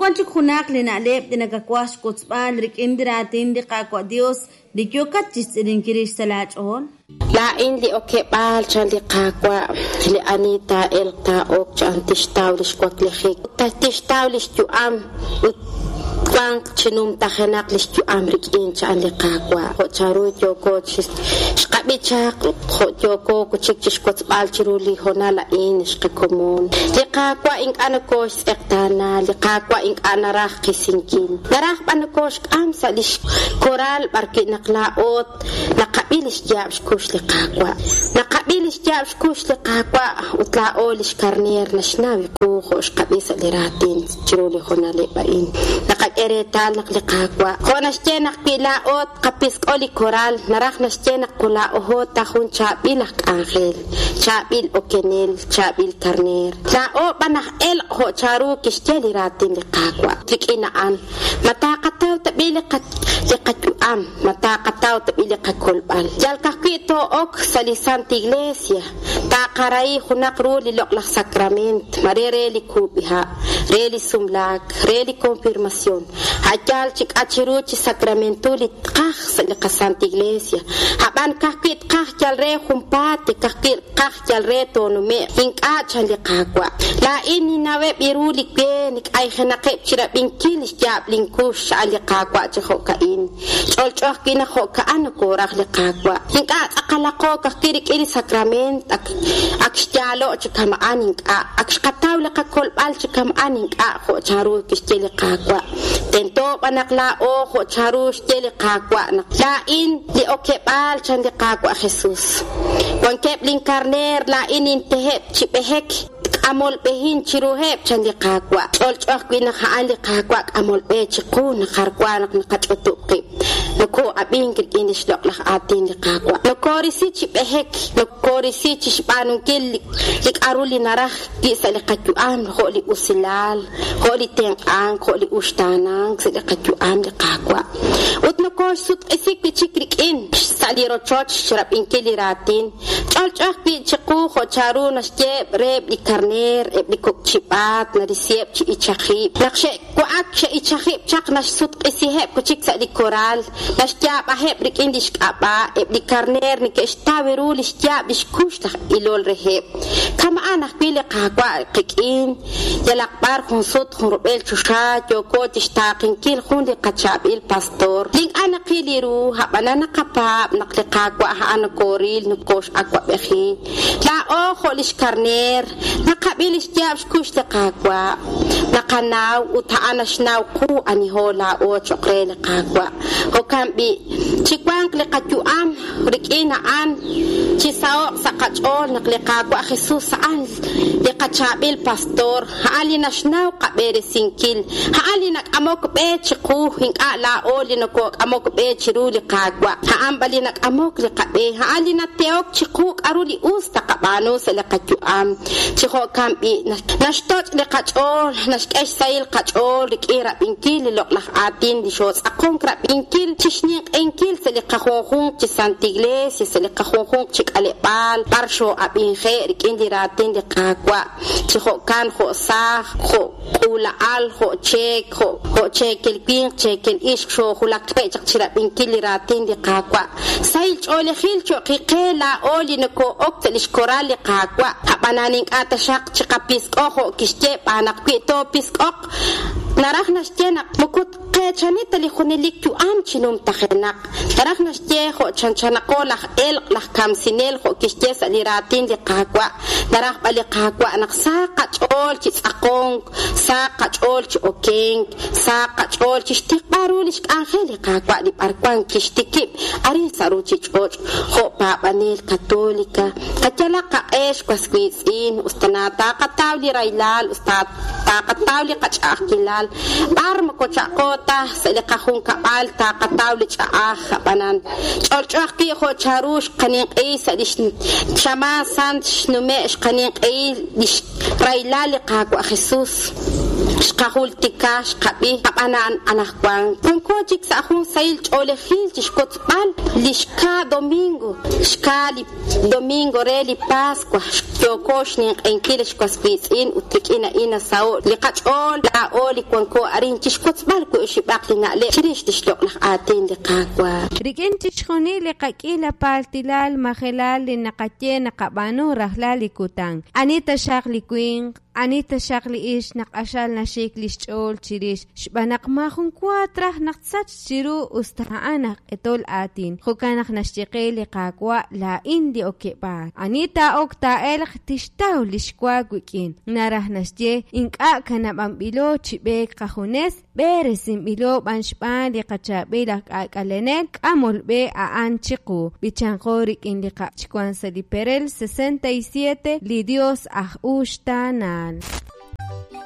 wan chik junaq li na'leb' li nakawaj xwotzb'al rik'in li raatin li Qaawa' Dios li yookat chixtz'ilinkil rix sa' laa ch'ool? Laa'in li okeb'aal, chan li Qaawa', li ani taa'elq taa'ok, chan, tixtaw lix waklijik, ut tixtaw lix yu'am, ut twanq chi numtajenaq lix yu'am rik'in, chan li Qaawa'. Jo' chanru yooko chi xqab'i chaq ut jo' yooko wi' chik chixwotzb'al chiru li hoonal a'in, ex qakomon. Li Qaawa' ink'a' nokooxtz'eqtaana, li Qaawa' ink'a' naraj qisinkil, naraj b'an nokooxk'am sa' lix koral b'arwi' naq laa'o Naqab'i lix yaab' xkux li Qaawa'. Naqab'i lix yaab' xkux li Qaawa' ut laa'o lix karneer naxnaw qu jo' xqab'i sa' li raatin chiru li hoonaleb' a'in. Naqak'e reetal naq li Qaawa', jo' naxye naq wi laa'o tqapisk'o li koral, naraj naxye naq laa'oho ta jun chaab'il aj k'anjel, chaab'il okenel, chaab'il karneer. Laa'o b'an aj elq' jo' chanru kixye li raatin li Qaawa'. Rik'in a'an, ma taqataw tab'i' li qayu'am? Ma taqataw tab'i' li qakolb'al? Yal ka'ajwi' too'ok sa' li Santa Iglesia, taqarahi junaq ru li loq'laj sakrament, mare re li kub'iha', re li sumlaak, re li konfirmasion, a' yaal chi k'a' chi ru chi sakramentul li tqaj sa' li qaSanta Iglesia. A'b'an ka'ajwi' tqaj yal re junpaat, ka'ajwi' tqaj yal re toonume'q. Ink'a', chan li Qaawa'. Laa'in ninnaweb' ru li we k'ayjenaqeb' chirab'inkil lix yaab' lin kux, xa'an li Qaawa' chi jo'ka'in. Ch'olch'o ajwi' naq jo'ka'an nokoraj li Qaawa'. Ink'a' tz'aqalaqo ka'ajwi' rik'in li sakrament, ak ak xyaalo' chi kama'an ink'a', ak xqataw li qakolb'al chi kama'an ink'a' jo' chanru kixye li Qaawa'. Tento b'an naq laa'o jo' chanru xye li Qaawa' naq laa'in li okeb'aal, chan li Qaawa' Jesus. Wankeb' lin karneer, laa'in ninteheb' chi b'ehek. K'amol b'ehin chiruheb', chan li Qaawa'. Ch'olch'o ajwi' naq a'an li Qaawa' k'amol b'e chiqu naq jar wa naq naqach'utub' qib'. Nokoo'ab'ink rik'in lix loq'laj aatin li Qaawa'. Nokoorisi chi b'ehek, nokoorisi chixb'aanunkil li k'a'ru li naraj wi' sa' li qayu'am, jo' li usilal, jo' li tenq'ank, jo' li uxtaanank sa' li qayu'am li Qaawa'. Ut nokooxsutq'isi wi' chik rik'in sa' li rochoch xrab'inkil li raatin. Ch'olch'o ajwi' chiqu jo' chanru naxye reheb' li karneer, eb' li kok' chib'aat, narisiheb' chi ichajib'k. Naq xe'wa'ak xe'ichajib'k chaq naxsutq'isiheb' wi' chik sa' li koral, naxyaab'aheb' rik'in li xk'ab'a', eb' li karneer neke'xtaw ru li xyaab' li xkux laj ilol reheb'. Kama'an ajwi' li Qaawa' qik'in, yalaq b'ar jun sut jun rub'el choxa yooko chi xtaaqenkil jun li qachaab'il pastor li ink'a' naqil li ru, a'b'anan naqapaab' naq li Qaawa' a'an nokoril, nokox'awa'b'eji. Laa'o jo' lix karneer, naqab'i lix yaab' xkux li Qaawa', naqanaw ut a'an naxnaw qu aniho laa'o choq' re li Qaawa'. Jo'kan b'i', chiwanq li qayu'am rik'in a'an, chisaho'q sa' qach'ool naq li Qaawa' Jesus a'an li qachaab'il pastor, a'an li naxnaw qab'eresinkil, a'an li nak'amok b'e chiqu, ink'a' laa'o li nokok'amok b'e chiru li Qaawa', a'an b'an li nak'amok li qab'e, a'an li natehok chiqu k'a'ru li us taqab'aanu sa' li qayu'am. Chi jo'kan b'i', naxtoch' li qach'ool, naxk'e xsahil qach'ool rik'in rab'inkil li loq'laj aatin li xootz'aqonk rab'inkil chixninq'ehinkil sa' li qajunjunq chi Santa Iglesia, sa' li qajunjunq chi k'aleb'aal, b'ar xoo'ab'inje' rik'in li raatin li Qaawa', chi jo'kan jo' saaj, jo' k'uula'al, jo' cheek, jo' jo' cheekel winq, cheekel ixq, xoojulakje' chaq chirab'inkil li raatin li Qaawa'. Sahil ch'oolejil cho'q qe laa'o li nokoo'ok sa' lix koral li Qaawa', a'b'anan ink'a' taxaq chiqapisk'o jo' kixye b'aan naq wi toopisk'oq, naraj naxye naq moko tqeechani ta li junelik yu'am chi numtajenaq. Naraj naxye jo' chanchanaqo laj elq', laj kamsinel jo' kixye sa' li raatin li Qaawa'. Naraj b'an li Qaawa' naq sahaq qach'ool chi tz'aqonk, sahaq qach'ool chi okenk, sahaq qach'ool chi xtiqb'al ru lix k'anjel li Qaawa' li b'arwan kixtikib' arin sa' ruuchich'och' jo' paab'anel Katolika. Qayalaq qaq'e xwas wiitz'in, us tana taqataw li rahilal, us ta taqataw li qach'a'ajkilal, b'ar moko cha'qo ta sa' li qajunkab'al taqataw li ch'a'aj, a'b'anan ch'olch'o ajwi' jo' chanru xqaninq'ehi sa' lix xamaan sant xnume' xqaninq'ehi lix rahilal li Qaawa' Jesus. Xqajultika, xqab'i, ab'anan anaqwan wanko chik sa' jun sahil ch'oolejil chi xwotzb'al li xka domingo, xka li domingo re li Pascua. Yooko xninq'ehinkil ex was wiitz'in ut rik'in a'in nasaho'k li qach'ool laa'o li wanko arin chi xwotzb'al wi' oxib'aq li na'leb' chirix li xloq'laj aatin li Qaawa'. Rik'in chixjunil li qak'iila paaltilal majelal li naqaye naqab'aanu rajlal li kutan. Ani taxaq li winq, ani taxaq li ixq naq q'axal naxik li xch'ool chirix, xb'aan naq maajun wa traj naq tsachq chiru us ta a'an aj q'etol aatin. Jo'kan naq naxye qe li Qaawa', Laa'in li okeb'aal. Ani taa'ok taa'elq tixtaw li xwa wik'in. Naraj naxye, ink'a' kanab'anb'ilo chi b'eek qajunes, b'eresinb'ilo b'an xb'aan li qachaab'il aj k'aak'alenel k'amol b'e a'an chiqu. B'ichanqo rik'in li qab'ich wank sa' li perel 67, Li Dios aj uxtaanal.